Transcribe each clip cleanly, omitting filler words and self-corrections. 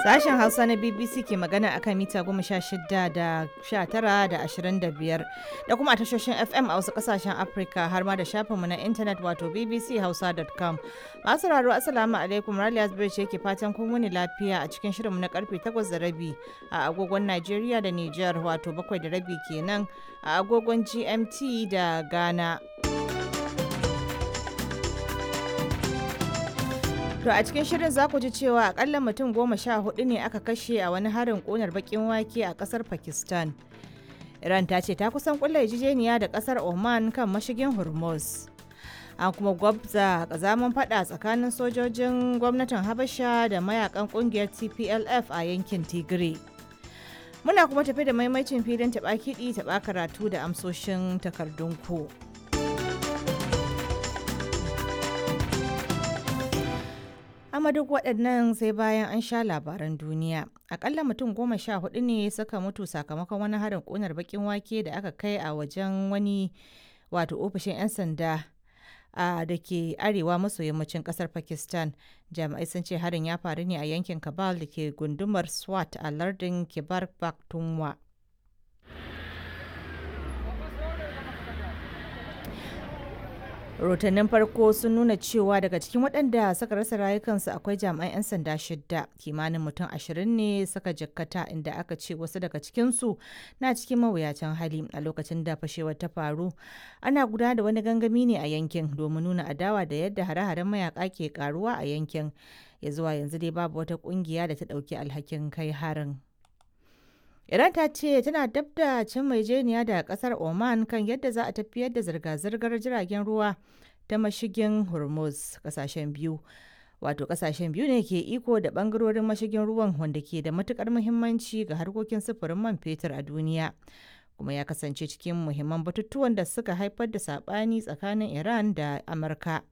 Sashen Hausa na BBC ke magana akan mita 16 da 19 da 25 da kuma a tashoshin FM a wasu kasashen Afirka har ma da shafinmu na intanet wato bbchausa.com. Masu raro, Assalamu alaikum, Raliya Zubairu ce ke fatan kun wuni lafiya a cikin shirinmu na karfe 8:30 a agogon Najeriya da Nijar, wato 7:30 kenan a agogon GMT da Ghana. To a cikin shirin za ku ji cewa akalla mutum 14 ne aka kashe a wani harin ƙunar bakin wake a ƙasar Pakistan. Iran ta ce ta kusan kulla yarjejeniya da ƙasar Oman kan mashigin Hormuz. An kuma gwabza kazaman fada tsakanin sojojin gwamnatin Habasha da mayakan kungiyar TPLF a yankin Tigray. Muna kuma tafi da maimacin filin taɓa kiɗi taɓa karatu da amsoshin takardun ku. Amma duk waɗannan sai bayan an sha labaran duniya. Akalla mutum 14 ne suka mutu sakamakon wani harin ƙunar bakin wake da aka kai a wajen wani wato ofishin 'yan sanda a da ke arewa maso yammacin ƙasar Pakistan. Jami'ai sun ce harin ya faru ne a yankin Kabal da ke gundumar Swat a lardin Kibar Pakhtunkhwa. Rahotannin farko sun nuna cewa daga cikin waɗanda suka rasa rayukansu akwai jami'an 'yan sanda shidda. Kimanin mutum 20 ne suka jikkata, inda aka ce wasu daga cikinsu na cikin mawuyacin hali. A lokacin da fashewar ta faru, ana gudanar da wani gangami ne a yankin domin nuna adawa da yadda hare-haren mayaka ke karuwa a yankin. Ya zuwa yanzu dai babu wata kungiya da ta ɗauki alhakin kai harin. Iran ta ce tana dab da cin maijeniya da kasar Oman kan yadda za a tafiyar da zirga-zirgar jiragen ruwa ta mashigin Hormuz. Kasashen biyu. Wato kasashen biyu ne ke iko da bangarorin mashigin ruwan wanda ke da matukar muhimmanci ga harkokin sufurin man fetur a duniya. Kuma ya kasance cikin muhimman batutuwan da suka haifar da sabani tsakanin Iran da Amurka.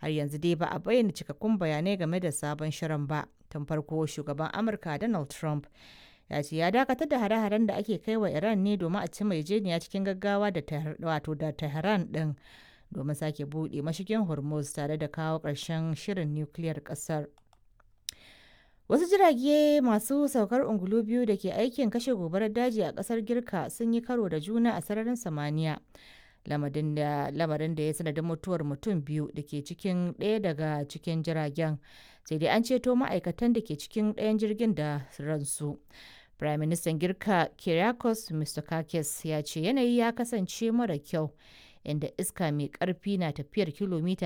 Har yanzu dai ba a bayyana cikakkun bayanai game da sabon shirin ba. Tun farko shugaban Amurka Donald Trump ya ce ya dakatar da hare-haren da ake kai wa Iran ne domin a ci yarjejeniya cikin gaggawa da wato da Tehran din domin sake buɗe mashigin Hormuz tare da kawo ƙarshen shirin nukiliyar ƙasar. Wasu jirage masu saukar ungulu biyu da ke aikin kashe gobarar daji a ƙasar Girka sun yi karo da juna a sararin samaniya. Lamarin da ya sanadin mutuwar mutum biyu da ke cikin ɗaya daga cikin jiragen, sai dai an ceto ma'aikatan da ke cikin ɗayan jirgin da ransu. Prime Minister Girka Kyriakos Mitsotakis ya ce yanayi ya kasance mara kyau, inda iska mai ƙarfi na tafiyar kilomita